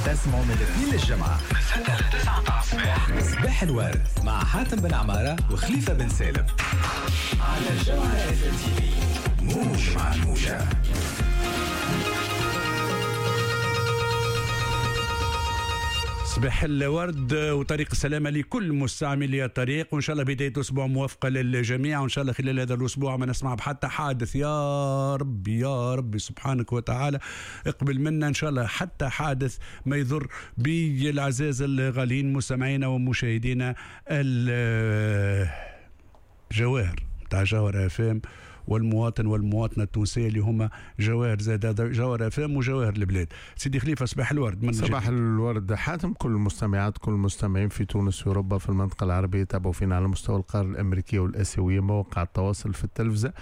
تسمعوا من الاثنين للجمعة من 6 ل 9 متاع الصباح. صباح الورد مع حاتم بن عمارة وخليفة بن سالم على جوهرة اف ام تي في، موج مع الموجة. صباح الورد وطريق السلامة لكل مستعملي الطريق، وإن شاء الله بداية أسبوع موفقة للجميع، وإن شاء الله خلال هذا الأسبوع ما نسمع بحتى حادث. يا ربي يا ربي سبحانك وتعالى اقبل منا إن شاء الله حتى حادث ما يضر بالعزاز الغاليين مستمعينا ومشاهدينا الجواهر تاع جوهرة اف ام والمواطن والمواطنة التونسية اللي هما جواهر زاد جوهرة اف ام وجواهر البلاد. سيدي خليفة صباح الورد. من صباح الورد حاتم، كل المستمعات كل المستمعين في تونس وأوروبا في المنطقة العربية تابعوا فينا على مستوى القارة الأمريكية والآسيوية، مواقع التواصل في التلفزة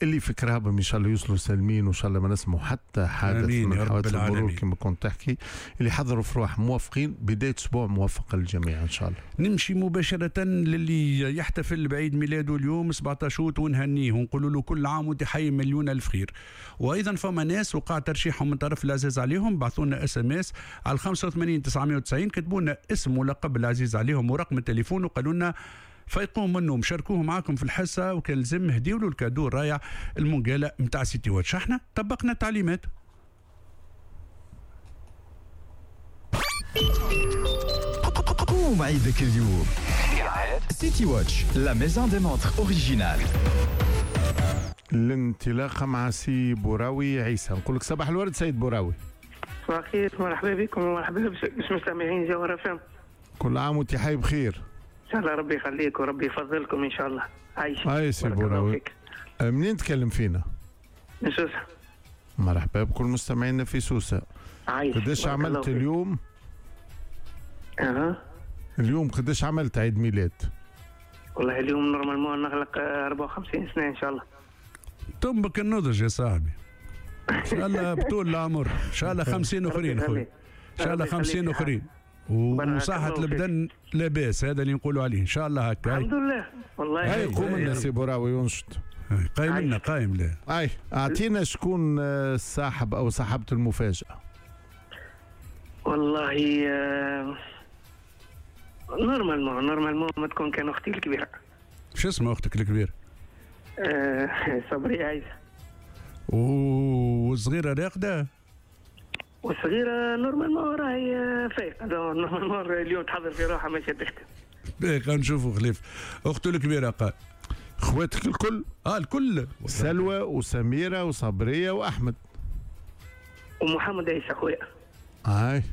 اللي في كرهبهم إن شاء الله يوصلوا سالمين، وإن شاء الله ما نسمعوا حتى حادث من حوادث المرور كما كنت تحكي. اللي حضروا في روح موافقين، بداية أسبوع موفقة للجميع إن شاء الله. نمشي مباشرة للي يحتفل بعيد ميلاده اليوم 17 أوت ونهنيه ونقول له كل عام وانت حي مليون ألف خير. وأيضا فما ناس وقع ترشيحهم من طرف العزيز عليهم، بعثوا لنا SMS على 85 990، كتبوا لنا اسم ولقب العزيز عليهم ورقم التليفون وقالوا لنا فيقوم منهم شاركوه معاكم في الحصة، وكان لازم هديوا له ال cadeau الرايع المنقاله نتاع سيتي واتش. احنا طبقنا التعليمات. قوم عيدك اليوم سيتي واتش، la maison des montres originales. الانطلاقة مع سي بوراوي عيسى. نقول لك صباح الورد سيد بوراوي. صباح الخير، مرحبا بكم ومرحبا بالمستمعين جوهرة فم. كل عام وانت حي بخير ان شاء الله، ربي يخليك وربي يفضلكم ان شاء الله. عايش هاي سي بوراوي، منين تكلم فينا؟ من سوسة. مرحبا بكل مستمعينا في سوسة. عايش. قداش عملت اليوم؟ اها اليوم قداش عملت عيد ميلاد؟ والله اليوم normalement نغلق 54 سنة ان شاء الله. تنبك النضج يا صاحبي. ان شاء الله بطول العمر، ان شاء الله 50 اخرين خويا. ان شاء الله 50 اخرين. وصحة البدن لاباس، هذا اللي نقولوا عليه ان شاء الله هكا. الحمد لله والله. هاي قوم لنا سي بوراوي ينشط. قايم لنا قايم له. اي اعطينا شكون الصاحب او صاحبة المفاجأة. والله normalement ما تكون كان اختي الكبيرة. شو اسمها اختك الكبيرة؟ صبري عايزة. والصغيرة راقدة؟ والصغيرة normalement راهي فايقة، normalement اليوم تحضر في روحها ماشية تخدم. باهي نشوفوا خليف. أخته الكبيرة قال. خواتك الكل؟ الكل. سلوى وسميرة وصبرية وأحمد. ومحمد عيسى خويا. هاي.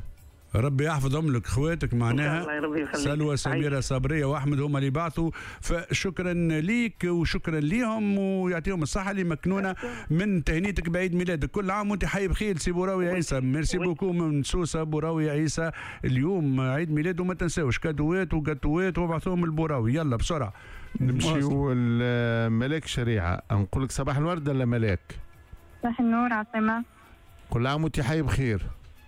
ربي يحفظهم لك خواتك معناها. سلوى سميرة صبرية وأحمد هما اللي بعثوا، فشكرا ليك وشكرا ليهم ويعطيهم الصحة اللي مكنونا من تهنيتك بعيد ميلادك. كل عام وانت حي بخير سي بوراوي عيسى. merci beaucoup من سوسة بوراوي عيسى، اليوم عيد ميلاده ما تنساوش كادوات وكاتوات وابعثوهم للبوراوي. يلا بسرعة نمشيو لملاك شريعة. نقول لك صباح الورد ولا ملاك؟ صباح النور عاصمة. كل عام وانت حي بخير.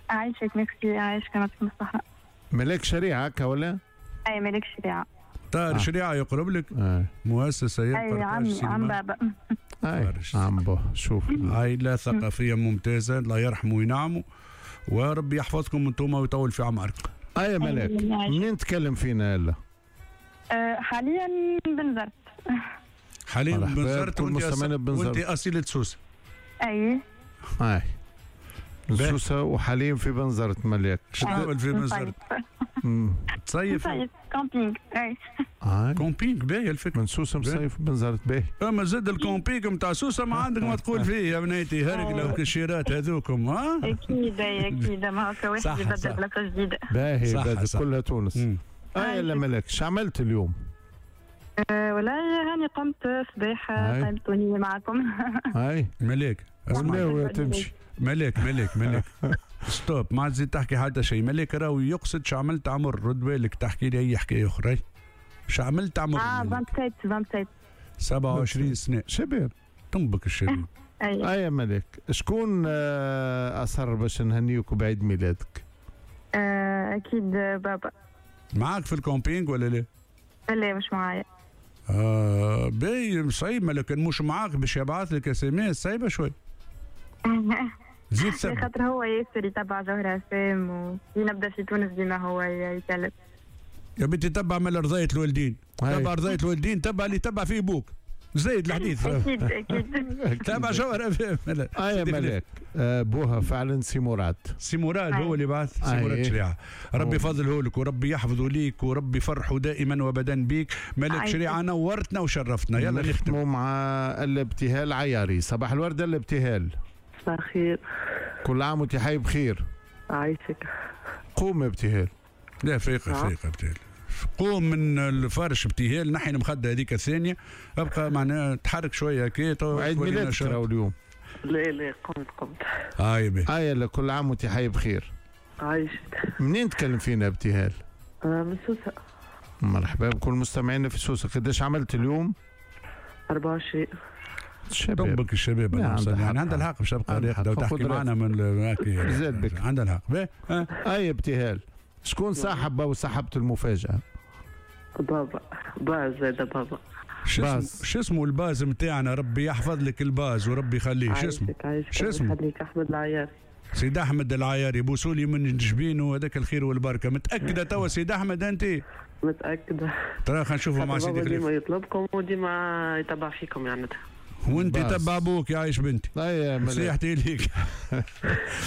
عايشك ميرسي، عايشك يعطيكم الصحة. ملاك شريعة هكا ولا؟ أي ملاك شريعة. طاهر شريعة يقرب لك؟ مؤسسة أي عمي عم بابا. أي عم بابا. شوف عائلة ثقافية ممتازة، الله يرحمه وينعمه وربي يحفظكم انتم ويطول في عمركم. أي ملاك منين تكلم فينا يلا؟ حاليا بنزرت. حاليا بنزرت وانت أصيلة سوسة. أي. أي سوسة وحاليا في بنزرت. ملاك شو تعمل في بنزرت؟ تصيف؟ نصيف camping. اي camping باهي الفكرة. من سوسة مصيف بنزرت باهي. اما زاد ال camping نتاع سوسة ما عندك ما تقول فيه يا بنيتي، هرقلة وكشيرات هذوكم. ها؟ اكيد اكيد، ما هكا واحد يبدل بلاصة جديدة. باهي كلها تونس. اي لا ملاك شو عملت اليوم؟ والله هاني قمت صباح قمتوني معكم. اي ملاك اسمع تمشي. ملاك ملاك ملاك stop، ما تزيد تحكي حتى شيء. ملاك راهو يقصد شو عملت عمر، رد بالك تحكي لي اي حكاية اخرى. شو عملت عمر؟ 27 27 سنة شباب، تنبك الشباب. اي يا ملاك شكون اصر باش نهنيوك بعيد ميلادك؟ اكيد بابا. معاك في ال camping ولا لا؟ لا مش معايا. باهي صعيب، لكن مش معاك باش يبعث لك SMS صعيبة شوي. زيد ثبت. خاطر هو ياسر يتبع جوهرة FM، وكي نبدا في تونس ديما هو يكلم. يا بنتي تبع من رضاية الوالدين، تبع رضاية الوالدين، تبع اللي تبع فيه بوك. زايد الحديث. اكيد اكيد. تابع جوهرة FM. يا ملاك، بوها فعلا سي مراد. سي مراد هو اللي بعث، سي مراد شريعة. ربي يفضله لك وربي يحفظه ليك وربي يفرحه دائما وابدا بيك. ملاك شريعة نورتنا وشرفتنا. يلا نختموا مع الابتهال عياري. صباح الورد الابتهال. صباح الخير. كل عام وانت حي بخير. عايشك. قوم ابتهال. لا فيقه فيقه ابتهال، قوم من الفرش ابتهال، نحي المخدة هذيك الثانية، ابقى معناها تحرك شوية هكا. عيد ميلادك راهو اليوم. لا لا قمت قمت. هاي بي. هاي كل عام وانت حي بخير. عايشك. منين تكلم فينا ابتهال؟ من سوسة. مرحبا بكل مستمعينا في سوسة. قداش عملت اليوم؟ 24. الشباب طبك الشباب يعني عندها الحق باش تبقى راقده وتحكي معنا من زاد بك. عندها الحق. اي ابتهال، شكون صاحب او صاحبة المفاجأة؟ بابا. باز هذا بابا. شو اسمه الباز نتاعنا؟ ربي يحفظ لك الباز وربي يخليه. شو اسمه؟ شو اسمه؟ يخليك. احمد العياري. سيد احمد العياري، بوسولي من جبينه هذاك الخير والبركة. متاكدة توا سيد احمد انت؟ متاكدة. ترى خلينا نشوفوا مع سيدي خليفة. ديما يطلبكم وديما يتبع فيكم يعني. وانت تبع ابوك يا عايش بنتي. نصيحتي ليك.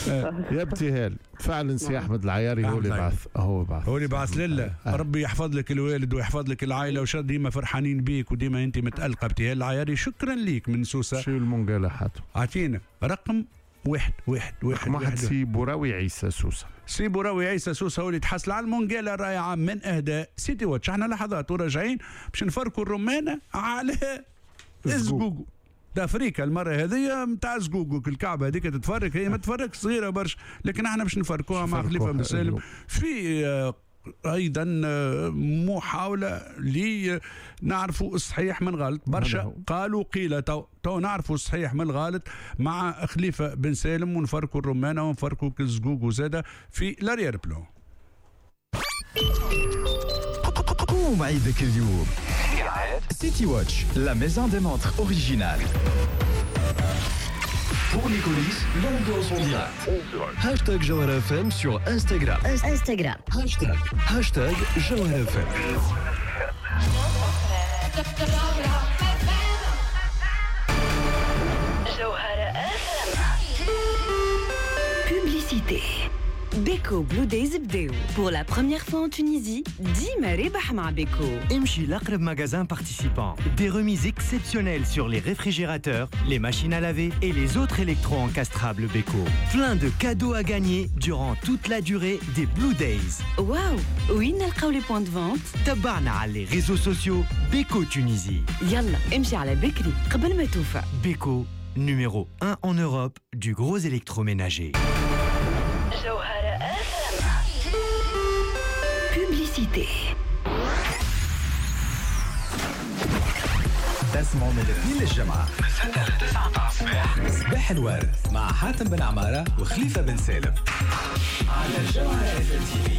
يا ابتهال فعلا سي احمد العياري هو اللي بعث، هو بعث، هو اللي بعث لله. ربي يحفظ لك الوالد ويحفظ لك العائلة، وشا ديما فرحانين بيك وديما انت متالقه. ابتهال العياري شكرا ليك من سوسة. شو المونجالا حاتم؟ اعطينا رقم 1 1 1 1. سي بوراوي عيسى سوسة. سي بوراوي عيسى سوسة هو اللي تحصل على المونجالا الرائعة من اهداء سيتي واتش. احنا لحظات وراجعين باش نفركوا الرمانه على الزقوقو. تفريكه المرة هذه نتاع زقوقو، الكعبة هذيك تتفرك، هي ما تفرك صغيرة برشا، لكن احنا باش نفركوها مع خليفة بن سالم في ايضا محاولة لنعرفوا الصحيح من غلط. برشا قالوا قيل، تو نعرفوا الصحيح من الغلط مع خليفة بن سالم، ونفركوا الرمانه ونفركوا الزقوقو زاده في l'arrière-plan. قوم عيدك اليوم. City Watch, la maison des montres originale. Pour les coulisses, l'ambiance en direct. Hashtag Jawhara FM sur Instagram. Instagram. Hashtag Jawhara FM. Jawhara FM. Publicité. Beko Blue Days بداو pour la première fois en Tunisie. ديما ربح مع Beko. امشي لأقرب magasin participant. Des remises exceptionnelles sur les réfrigérateurs, les machines à laver et les autres électro-encastrables Beko. Plein de cadeaux à gagner durant toute la durée des Blue Days. واو، وين نلقاو les points de vente؟ تبعنا على les réseaux sociaux Beko Tunisie. يلا امشي على بكري قبل ما توفى. Beko, numéro 1 en Europe du gros électroménager. جوهرة FM. Publicité. تسمعوا من الاثنين للجمعة من 6 ل 9 متاع الصباح. صباح الورد مع حاتم بن عمارة وخليفة بن سالم على جوهرة FM TV.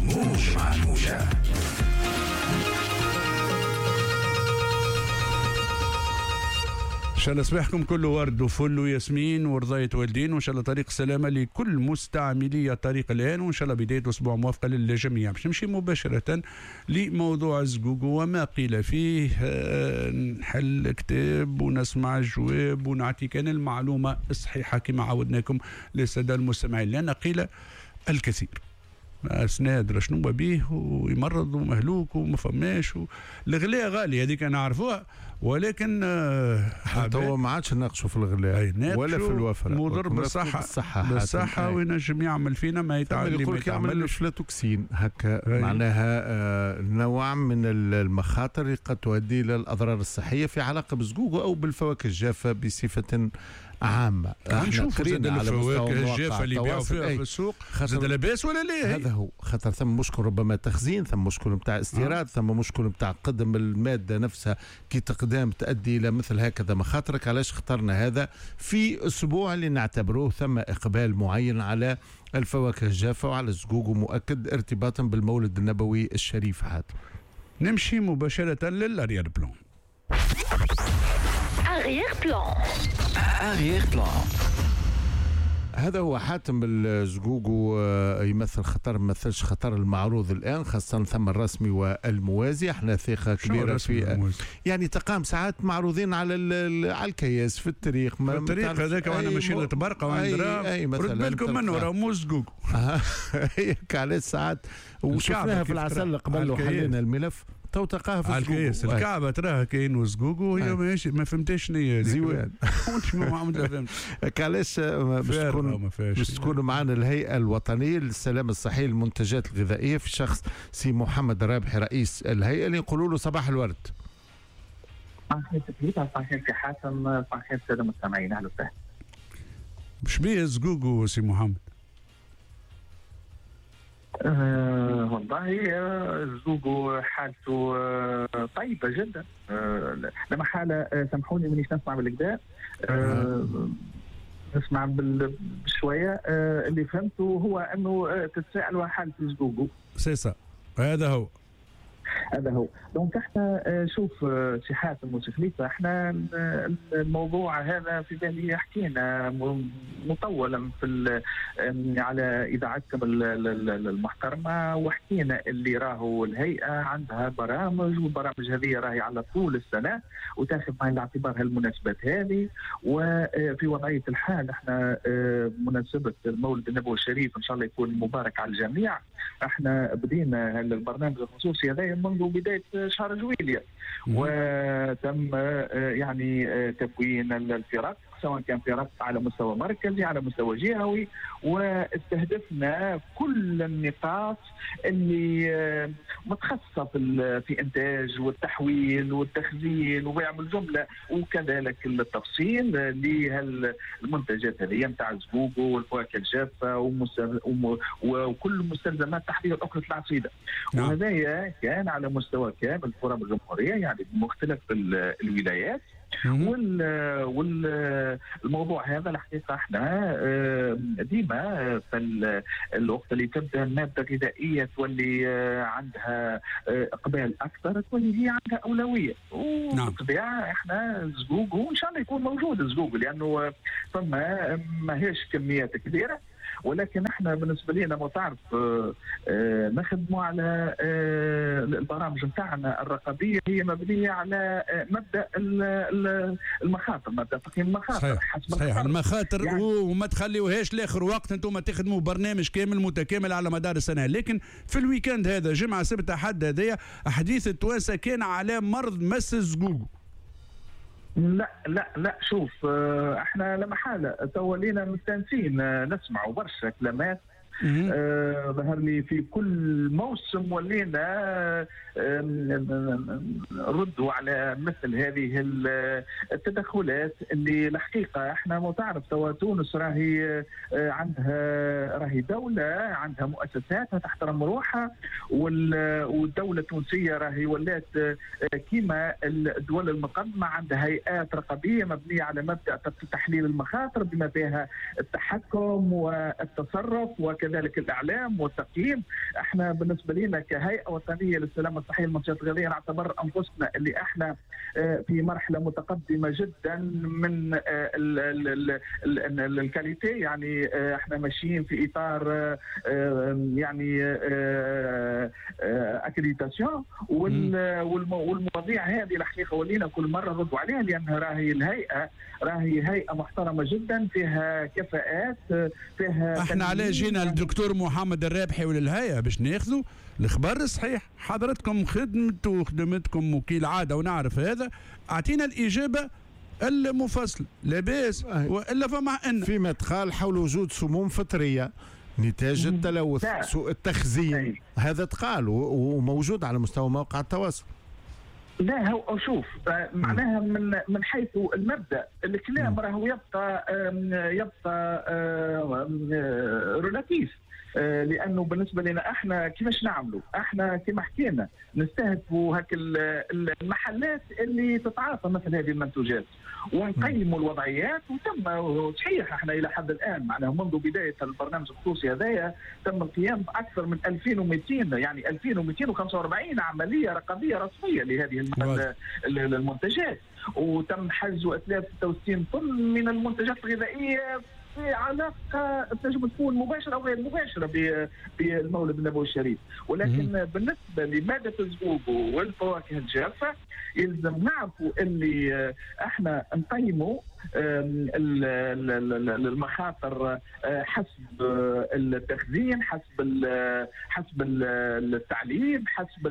موج مع الموجة. إن شاء الله صباحكم كله ورد وفل وياسمين ورضاية والدين، وإن شاء الله طريق سلامة لكل مستعملي الطريق الآن، وإن شاء الله بداية أسبوع موافقة للجميع. باش نمشي مباشرة لموضوع الزقوقو وما قيل فيه. نحل كتاب ونسمع الجواب ونعطيك أنا المعلومة الصحيحة كما عودناكم للسادة المستمعين، لأن قيل الكثير. سنادر شنو بيه ويمرض ومهلوك وما فماش الغلاء غالي هذيك نعرفوها، ولكن توا ما عادش نناقشوا في الغلاء ولا في الوفرة، مضر بالصحة، بالصحة وينجم يعمل فينا ما يتعلم، ما يعمل فلاتوكسين هكا، معناها نوع من المخاطر اللي قد تؤدي الى الاضرار الصحية في علاقة بالزقوق او بالفواكه الجافه بصفة عامة. نشوفوا زاد الفواكه الجافه اللي يبيعوا فيها في السوق زاد لاباس ولا لا؟ هذا هو خاطر ثم مشكل ربما تخزين، ثم مشكل نتاع استيراد، ثم مشكل نتاع قدم المادة نفسها كي تقدام تؤدي الى مثل هكذا مخاطرك. علاش اخترنا هذا في اسبوع اللي نعتبروه ثم اقبال معين على الفواكه الجافه وعلى الزقوق، ومؤكد ارتباطا بالمولد النبوي الشريف. عاد نمشي مباشرة لل arrière-plan. Arrière-plan. Arrière-plan. هذا هو حاتم. الزقوقو يمثل خطر، ما يمثلش خطر المعروض الان، خاصة ثم الرسمي والموازي. احنا ثقة كبيرة في يعني تقام ساعات معروضين على الكياس في الطريق، في الطريق هذاك وانا ماشيين لتبرقه وعند رد بالكم منه راه مو زقوقو. هيك علاش ساعات وشفناها في العسل قبل وحلينا الملف، تو تلقاها في الكياس الكعبة تراها كاين وزقوقو وهي ماشي ما فهمتش شنو هي زيوان. علاش باش تكون معنا الهيئة الوطنية للسلامة الصحية للمنتجات الغذائية في شخص سي محمد الرابحي رئيس الهيئة، اللي نقولوا له صباح الورد. صباح الخير، صباح الخير سي حاتم، صباح الخير السادة المستمعين، اهلا وسهلا. شبيه الزقوقو سي محمد؟ والله الزوجو حالته طيبة جدا. لما حالة سامحوني مانيش نسمع بالكدا، نسمع بشوية. اللي فهمته هو أنه تتساءلوا حالة الزوجو. c'est ça، هذا هو هذا هو. donc احنا شوف سي حاتم وسي خليفة، احنا الموضوع هذا في بالي حكينا مطولا في على اذاعتكم المحترمة، وحكينا اللي راهو الهيئة عندها برامج، والبرامج هذه راهي على طول السنة وتاخذ بعين الاعتبار هالمناسبات هذه. وفي وضعية الحال احنا مناسبة المولد النبوي الشريف ان شاء الله يكون مبارك على الجميع، احنا بدينا البرنامج الخصوصي هذا منذ بداية شهر جويلية، وتم يعني تكوين الفرق، سواء كان فرق على مستوى مركزي على مستوى جهوي، واستهدفنا كل النقاط اللي متخصصة في إنتاج والتحويل والتخزين وبيع بالجملة، وكذلك التفصيل لهالمنتجات هذه نتاع الزقوقو والفواكه الجافة وكل مستلزمات تحضير أكلة العصيدة. نعم. وهذايا كان على مستوى كامل تراب الجمهورية، يعني بمختلف الولايات. والموضوع هذا الحقيقة احنا ديما في الوقت اللي تبدا المادة الغذائية تولي عندها اقبال اكثر، تولي هي عندها اولوية. وبالطبيعه احنا الزقوق وان شاء الله يكون موجود الزقوق، لانه فما ماهيش كميات كبيرة، ولكن احنا بالنسبة لنا ما تعرف نخدموا على البرامج نتاعنا الرقابية هي مبنية على مبدا المخاطر، مبدا تقييم المخاطر. صحيح, صحيح. المخاطر يعني وما تخليوهاش لاخر وقت، انتم تخدموا برنامج كامل متكامل على مدار السنة. لكن في ال week-end هذا جمعه سبت احد هذايا حديث التوانسة كان على مرض مس الزقوق. لا لا لا، شوف احنا لما حالة تولينا مستانسين نسمعوا برشا كلمات. ظهر لي في كل موسم ولينا ردوا على مثل هذه التدخلات اللي الحقيقة احنا ما تعرف توا تونس راهي عندها، راهي دولة عندها مؤسساتها تحترم روحها، والدولة التونسية راهي ولات كيما الدول المقدمة عندها هيئات رقابية مبنية على مبدا تحليل المخاطر بما فيها التحكم والتصرف وكذلك الاعلام والتقييم. احنا بالنسبة لنا كهيئة وطنية للسلامة الصحية للمنتجات الغذائية نعتبر انفسنا اللي احنا في مرحلة متقدمة جدا من ال qualité، يعني احنا ماشيين في اطار يعني accréditation، والمواضيع هذه الحقيقة ولينا كل مرة نردوا عليها، لان راهي الهيئة راهي هيئة محترمه جدا فيها كفاءات فيها. احنا على جينا الدكتور محمد الرابحي وللهيئه باش ناخذوا الخبر الصحيح. حضرتكم خدمتوا وخدمتكم وكيل عادة ونعرف هذا، اعطينا الاجابة المفصلة. لاباس والا فما ان فيما تقال حول وجود سموم فطرية نتاج التلوث، سوء التخزين، هذا تقال وموجود على مستوى مواقع التواصل. لا هو شوف معناها من حيث المبدا الكلام راهو يبقى relatif، لانه بالنسبة لنا احنا كيفاش نعملوا؟ احنا كما حكينا نستهدفوا هاك المحلات اللي تتعاطى مثل هذه المنتوجات ونقيموا الوضعيات. وتم صحيح احنا الى حد الان معناها منذ بداية البرنامج الخصوصي هذايا تم القيام باكثر من 2200 يعني 2245 عملية رقابية رسمية لهذه المنتجات، وتم حجز 63 طن من المنتجات الغذائية في علاقة تنجم تكون مباشرة او غير مباشرة بالمولد النبوي الشريف. ولكن بالنسبة لمادة الزقوقو والفواكه الجافه يلزم نعرفوا اللي احنا نقيموا المخاطر حسب التخزين، حسب التعليب، حسب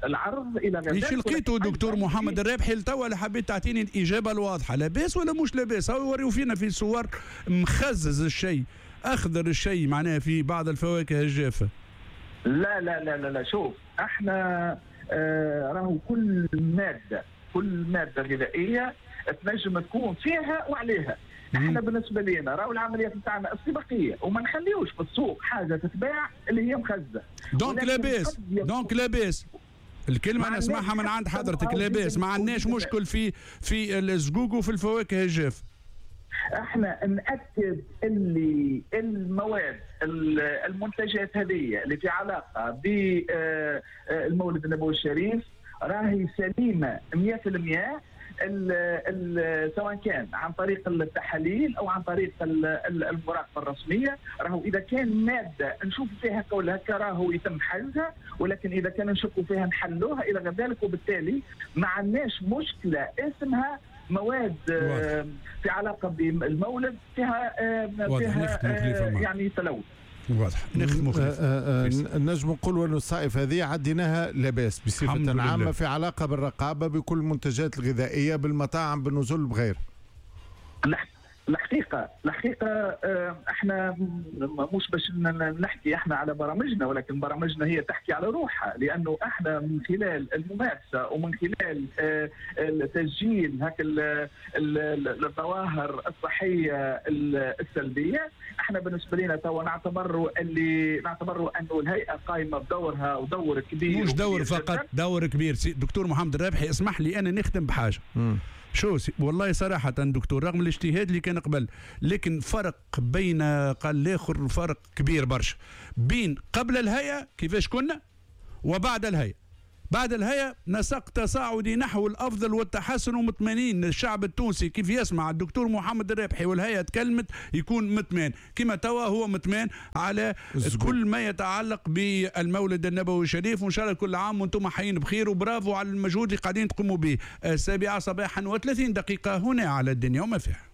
العرض الى غير ذلك. ايش لقيتوا دكتور محمد الرابحي لتوا اللي حبيت تعطيني الاجابة الواضحة، لاباس ولا مش لاباس؟ هاو يوريو فينا في صور مخزز الشيء، اخضر الشيء معناها في بعض الفواكه الجافه. لا لا لا لا, لا. شوف احنا راهو كل مادة غذائية تنجم تكون فيها وعليها. احنا بالنسبة لنا راهو العمليات نتاعنا السباقيه وما نخليوش في السوق حاجة تتباع اللي هي مخزه. donc لاباس، donc لاباس. الكلمة نسمعها من عند حضرتك، لاباس، ما عندناش مشكل في الزقوق وفي الفواكه الجاف. احنا ناكد اللي المواد المنتجات هذه اللي في علاقة بالمولد النبوي الشريف راهي سليمة 100%، سواء كان عن طريق التحاليل او عن طريق المراقبة الرسمية. راهو اذا كان مادة نشوف فيها كل هكا راهو يتم حلها، ولكن اذا كان نشكوا فيها نحلوها الى غير ذلك. وبالتالي ما عندناش مشكلة اسمها مواد في علاقة بالمولد فيها يعني تلوث. واضح. نختموا نجم نقولوا انه الصائف هذه عديناها لاباس بصفة عامة في علاقة بالرقابه بكل المنتجات الغذائية بالمطاعم بالنزل بغير. الحقيقة احنا مش باش نحكي احنا على برامجنا، ولكن برامجنا هي تحكي على روحها، لانه احنا من خلال الممارسة ومن خلال تسجيل هاك الظواهر الصحية السلبية، احنا بالنسبة لنا توا نعتبروا انه الهيئة قائمة بدورها ودور كبير، مش دور فقط، دور كبير. دكتور محمد الرابحي اسمح لي انا نختم بحاجة. شو والله صراحة دكتور، رغم الاجتهاد اللي كان قبل، لكن فرق بين قال الآخر فرق كبير برشا بين قبل الهيئة كيفاش كنا وبعد الهيئة. بعد الهيئة نسق تصاعدي نحو الأفضل والتحسن، ومطمئنين الشعب التونسي كيف يسمع الدكتور محمد الرابحي والهيئة تكلمت يكون مطمئن، كما توا هو مطمئن على كل ما يتعلق بالمولد النبوي الشريف. وإن شاء الله كل عام وأنتم حيين بخير، وبرافو على المجهود اللي قاعدين تقوموا به. 7:30 هنا على الدنيا وما فيها.